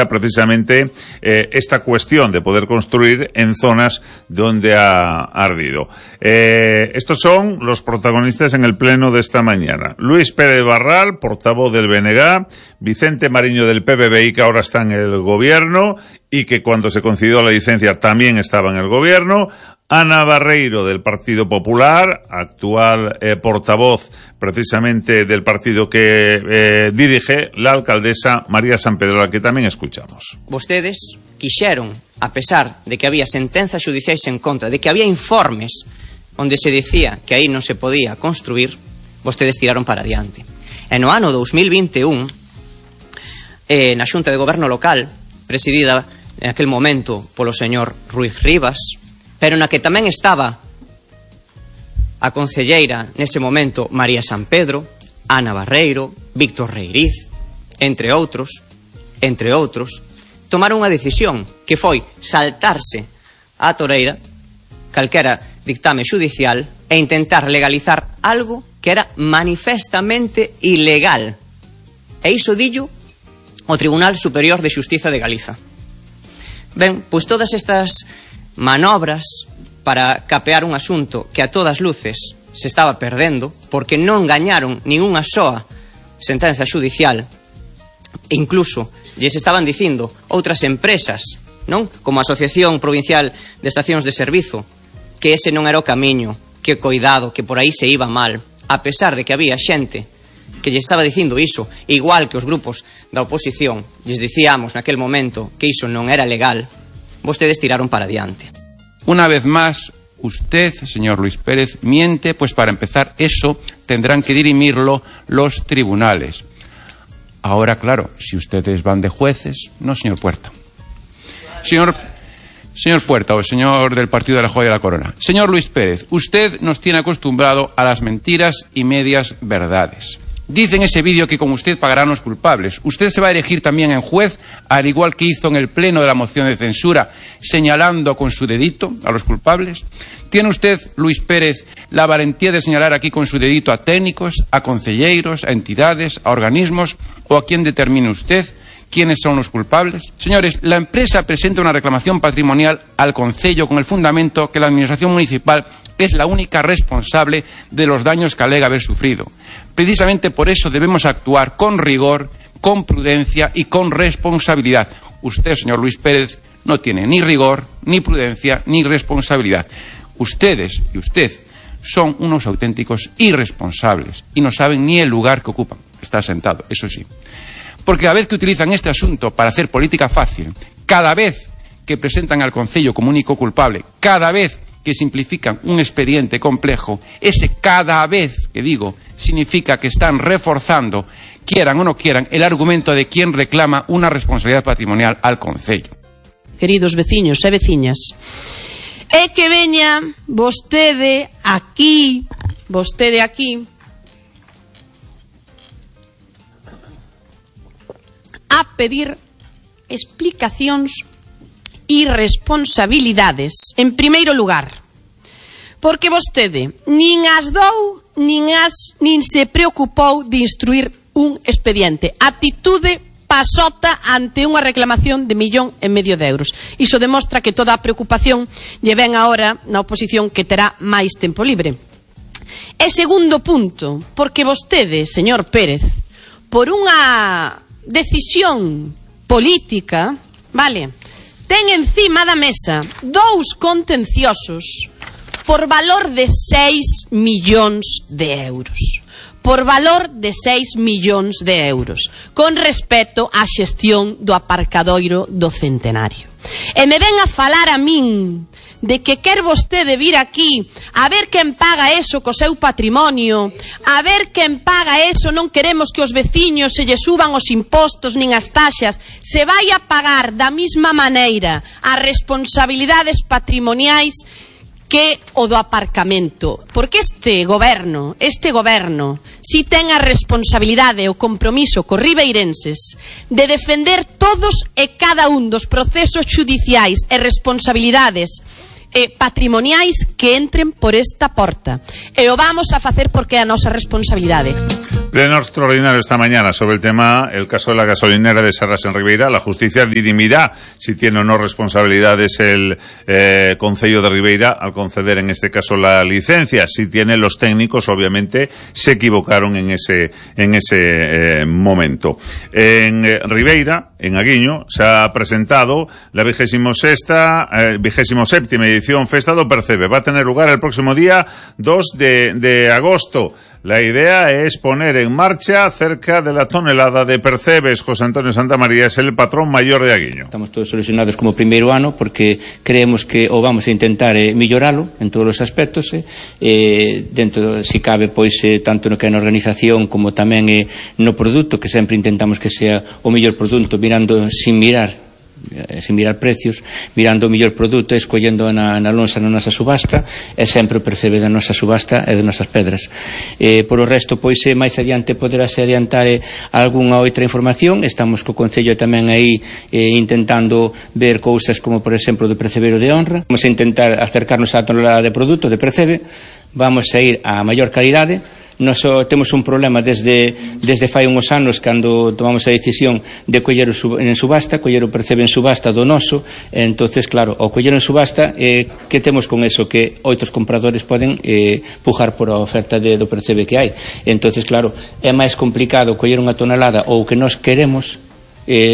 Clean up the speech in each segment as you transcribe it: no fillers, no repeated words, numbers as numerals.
precisamente esta cuestión de poder construir en zonas donde ha ardido. Estos son los protagonistas en el pleno de esta mañana. Luis Pérez Barral, portavoz del BNG, Vicente Mariño del PBBI, que ahora está en el gobierno y que cuando se concedió la licencia también estaba en el gobierno, Ana Barreiro del Partido Popular, actual portavoz precisamente del partido que dirige la alcaldesa María Sampedro, a que tamén escuchamos. Vostedes quixeron, a pesar de que había sentenzas xudiciais en contra, de que había informes onde se dicía que aí non se podía construir, vostedes tiraron para adiante. E no ano 2021, na Xunta de Goberno Local, presidida en aquel momento polo señor Ruiz Rivas, pero na que tamén estaba a concelleira nese momento María Sampedro, Ana Barreiro, Víctor Reiriz, entre outros, tomaron unha decisión que foi saltarse á toreira calquera dictame xudicial e intentar legalizar algo que era manifestamente ilegal. E iso dillo o Tribunal Superior de Xustiza de Galiza. Ben, pois todas estas manobras para capear un asunto que a todas luces se estaba perdendo porque non gañaron ninguna soa sentenza xudicial, e incluso lles estaban dicindo outras empresas, non? Como a Asociación Provincial de Estacións de Servizo, que ese non era o camiño, que coidado, que por aí se iba mal, a pesar de que había xente que lle estaba dicindo iso, igual que os grupos da oposición lles dicíamos naquel momento que iso non era legal. Vostedes tiraron para adiante. Una vez más, usted, señor Luis Pérez, miente, pues para empezar eso tendrán que dirimirlo los tribunales. Ahora, claro, si ustedes van de jueces, no, señor Puerta. Señor Puerta, o señor del Partido de la Joya de la Corona. Señor Luis Pérez, usted nos tiene acostumbrado a las mentiras y medias verdades. Dice en ese vídeo que con usted pagarán los culpables. ¿Usted se va a erigir también en juez, al igual que hizo en el pleno de la moción de censura, señalando con su dedito a los culpables? ¿Tiene usted, Luis Pérez, la valentía de señalar aquí con su dedito a técnicos, a concelleiros, a entidades, a organismos, o a quién determine usted quiénes son los culpables? Señores, la empresa presenta una reclamación patrimonial al concello con el fundamento que la administración municipal es la única responsable de los daños que alega haber sufrido. Precisamente por eso debemos actuar con rigor, con prudencia y con responsabilidad. Usted, señor Luis Pérez, no tiene ni rigor, ni prudencia, ni responsabilidad. Ustedes y usted son unos auténticos irresponsables y no saben ni el lugar que ocupan. Está sentado, eso sí. Porque cada vez que utilizan este asunto para hacer política fácil, cada vez que presentan al concello como único culpable, cada vez que simplifican un expediente complejo, ese cada vez que digo significa que están reforzando, quieran o no quieran, el argumento de quien reclama una responsabilidad patrimonial al concello. Queridos veciños e veciñas, é que veña vostede aquí a pedir explicacións e responsabilidades, en primeiro lugar, porque vostede nin as dou, nin se preocupou de instruir un expediente. Atitude pasota ante unha reclamación de 1,5 millón de euros. Iso demostra que toda a preocupación lle ven agora na oposición, que terá máis tempo libre. E segundo punto, porque vostede, señor Pérez, por unha decisión política, vale, ten encima da mesa 2 contenciosos por valor de 6 millóns de euros. Por valor de 6 millóns de euros, con respecto á xestión do aparcadoiro do Centenario. E me ven a falar a min de que quer vostede vir aquí a ver quen paga eso co seu patrimonio, a ver quen paga eso. Non queremos que os veciños se lle suban os impostos nin as taxas, se vai a pagar da mesma maneira as responsabilidades patrimoniais que o do aparcamento, porque este goberno si ten a responsabilidade e o compromiso cos ribeirenses de defender todos e cada un dos procesos xudiciais e responsabilidades patrimoniais que entren por esta porta, e o vamos a facer porque é a nosa responsabilidade. Pleno extraordinario esta mañana sobre el tema, el caso de la gasolinera de Serras en Ribeira. La justicia dirimirá si tiene o no responsabilidades el Concello de Ribeira al conceder en este caso la licencia. Si tiene, los técnicos obviamente se equivocaron en ese momento. En Ribeira, en Aguiño, se ha presentado la 27ª edición Festa do Percebe. Va a tener lugar el próximo día 2 de agosto. La idea es poner en marcha cerca de la tonelada de percebes. José Antonio Santamaría es el patrón mayor de Aguiño. Estamos todos solucionados como primeiro ano porque creemos que o vamos a intentar melloralo en todos os aspectos, dentro, se cabe, pois tanto no que é na organización como tamén no produto, que sempre intentamos que sea o mellor produto, mirando sin mirar precios, mirando o mellor produto, escollendo na lonxa na nosa subasta, e sempre o percebe da nosa subasta e das nosas pedras. Por o resto, pois máis adiante poderase adiantar algunha outra información. Estamos co Concello tamén aí intentando ver cousas como, por exemplo, do percebero de honra. Vamos a intentar acercarnos á tonelada de produto de percebe, vamos a ir a maior calidade. Nos temos un problema desde fai uns anos cando tomamos a decisión de coller en subasta, coller o percebe en subasta do noso. Entonces, claro, ao coller en subasta, que temos con eso? Que outros compradores poden pujar por a oferta do percebe que hai. Entonces, claro, é máis complicado coller unha tonelada ou que nós queremos,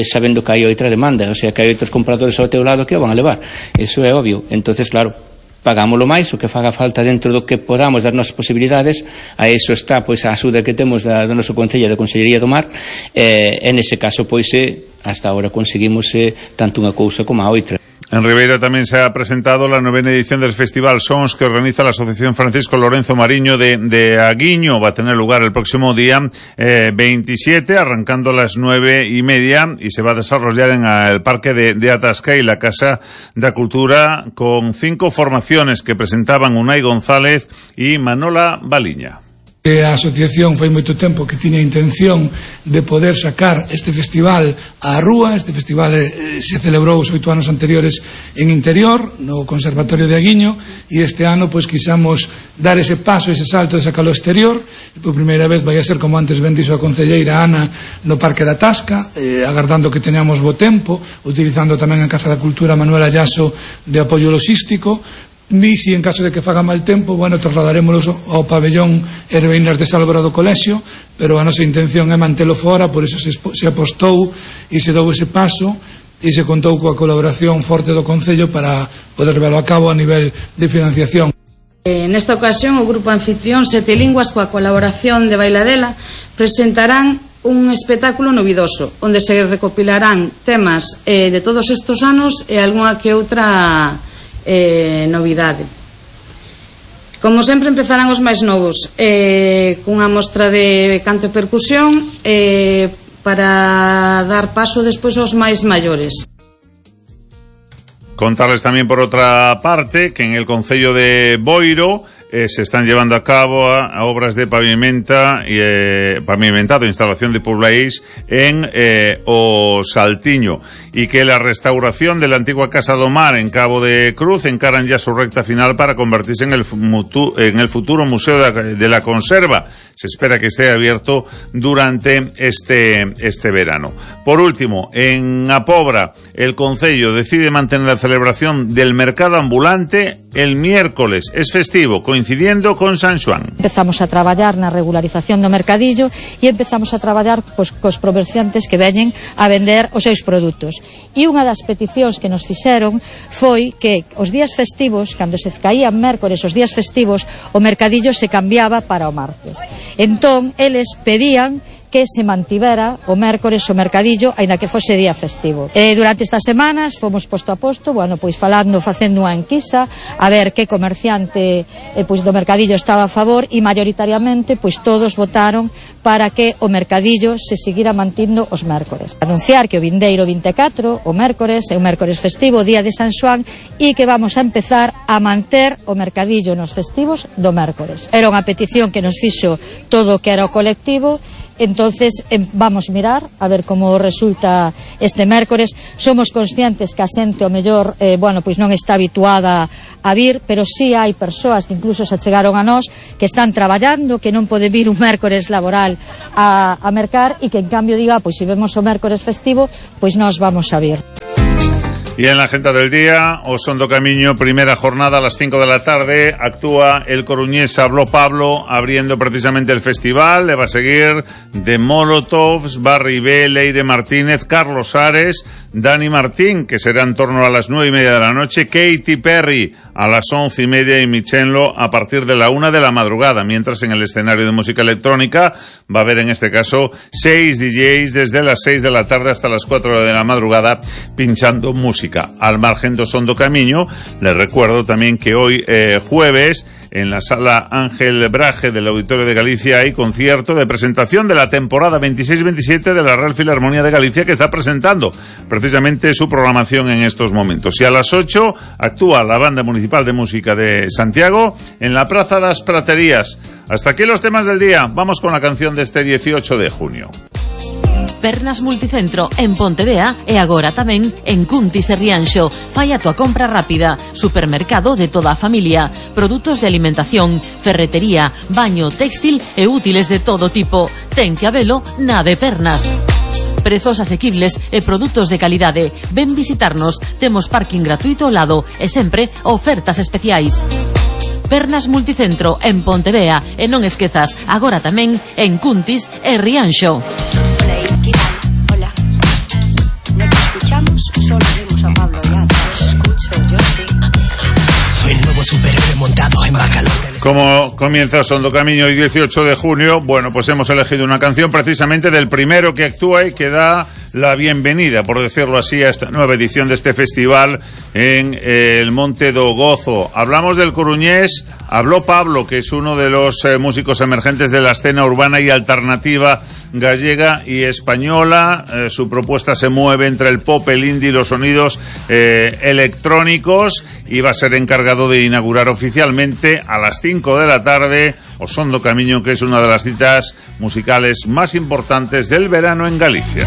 sabendo que hai outra demanda, o sea, que hai outros compradores ao teu lado que o van a levar. Eso é obvio. Entonces, claro, pagámoslo máis, o que faga falta dentro do que podamos das nosas posibilidades. A iso está, pois, a axuda que temos do noso Concello, da Consellería do Mar, e nese caso, pois, hasta ahora conseguimos tanto unha cousa como a outra. En Ribeira también se ha presentado la 9ª edición del Festival Sons que organiza la Asociación Francisco Lorenzo Mariño de Aguiño. Va a tener lugar el próximo día 27, arrancando a las 9:30, y se va a desarrollar en el Parque de Atasca y la Casa da Cultura, con 5 formaciones que presentaban Unai González y Manola Baliña. A asociación fai moito tempo que tiña a intención de poder sacar este festival á rúa. Este festival se celebrou os 8 anos anteriores en interior, no Conservatorio de Aguiño, e este ano pois quixamos dar ese paso, ese salto de sacarlo ao exterior. E por primeira vez vai a ser, como antes ben dixo a concelleira Ana, no Parque da Tasca, agardando que teñamos bo tempo, utilizando tamén a Casa da Cultura Manuel Ayaso de apoio logístico. Ni si en caso de que faga mal tempo, bueno, trasladaremos ao pabellón Herbeiras de Sálvora do Colexio, pero a nosa intención é mantelo fora. Por iso se apostou e se dou ese paso e se contou coa colaboración forte do Concello para poder levarlo a cabo a nivel de financiación. Nesta ocasión, o grupo anfitrión Sete Linguas, coa colaboración de Bailadela, presentarán un espectáculo novidoso onde se recopilarán temas de todos estes anos e algunha que outra novidade. Como sempre, empezarán os máis novos cunha mostra de canto e percusión para dar paso despois aos máis maiores. Contarles también, por otra parte, que en el Concello de Boiro se están llevando a cabo obras de pavimentado, instalación de pobláis en o Saltiño, y que la restauración de la antigua Casa do Mar en Cabo de Cruz encaran ya su recta final para convertirse en el futuro Museo de la Conserva. Se espera que esté abierto durante este verano. Por último, en A Pobra, el Concello decide mantener la celebración del mercado ambulante el miércoles. Es festivo, coincidiendo con San Xoán. Empezamos a traballar na regularización do mercadillo e empezamos a traballar cos comerciantes que veñen a vender os seus produtos. E unha das peticións que nos fixeron foi que os días festivos, cando se caían mércores os días festivos, o mercadillo se cambiaba para o martes. Entón, eles pedían que se mantivera o mércores o mercadillo, aínda que fose día festivo. Durante estas semanas fomos posto a posto, bueno, pois facendo unha enquisa a ver que comerciante pois do mercadillo estaba a favor, e maioritariamente pois todos votaron para que o mercadillo se seguira mantindo os mércores. Anunciar que o vindeiro 24, o mércores, é un mércores festivo, o día de San Xoán, e que vamos a empezar a manter o mercadillo nos festivos do mércores. Era unha petición que nos fixo todo o que era o colectivo, Entonces vamos mirar a ver como resulta este mércores. Somos conscientes que a xente o mellor pois non está habituada a vir, pero sí hai persoas que incluso se achegaron a nós que están traballando, que non pode vir un mércores laboral a mercar e que en cambio diga, pois se vemos o mércores festivo, pois nós vamos a vir. Y en la agenda del día, Osondo Camiño, primera jornada a las 5 de la tarde, actúa el coruñés Habló Pablo, abriendo precisamente el festival. Le va a seguir de Molotovs, Barry B, Leire Martínez, Carlos Ares, Dani Martín, que será en torno a las 9:30 de la noche, Katy Perry a las 11:30 y Michenlo a partir de la 1 de la madrugada, mientras en el escenario de música electrónica va a haber en este caso 6 DJs desde las 6 de la tarde hasta las 4 de la madrugada pinchando música. Al margen de Osondo Camiño, les recuerdo también que hoy jueves en la sala Ángel Braje del Auditorio de Galicia hay concierto de presentación de la temporada 26-27 de la Real Filarmonía de Galicia, que está presentando precisamente su programación en estos momentos. Y a las 8 actúa la Banda Municipal de Música de Santiago en la Praza das Praterías. Hasta aquí los temas del día. Vamos con la canción de este 18 de junio. Pernas Multicentro en Pontevea e agora tamén en Cuntis e Rianxo. Fai a tua compra rápida. Supermercado de toda a familia. Produtos de alimentación, ferretería, baño, textil e útiles de todo tipo. Ten que habelo na de Pernas. Prezos asequibles e produtos de calidade. Ven visitarnos. Temos parking gratuito ao lado e sempre ofertas especiais. Pernas Multicentro en Pontevea e non esquezas, agora tamén en Cuntis e Rianxo. Hola, no te escuchamos, solo vemos a Pablo ya. Te escucho, yo sí. Soy el nuevo superhéroe montado en Bacalón. Como comienza Osondo Camiño el 18 de junio, bueno, pues hemos elegido una canción precisamente del primero que actúa y que da la bienvenida, por decirlo así, a esta nueva edición de este festival en el Monte do Gozo. Hablamos del coruñés Habló Pablo, que es uno de los músicos emergentes de la escena urbana y alternativa gallega y española. Su propuesta se mueve entre el pop, el indie y los sonidos electrónicos, y va a ser encargado de inaugurar oficialmente a las 5 de la tarde Osondo Camiño, que es una de las citas musicales más importantes del verano en Galicia.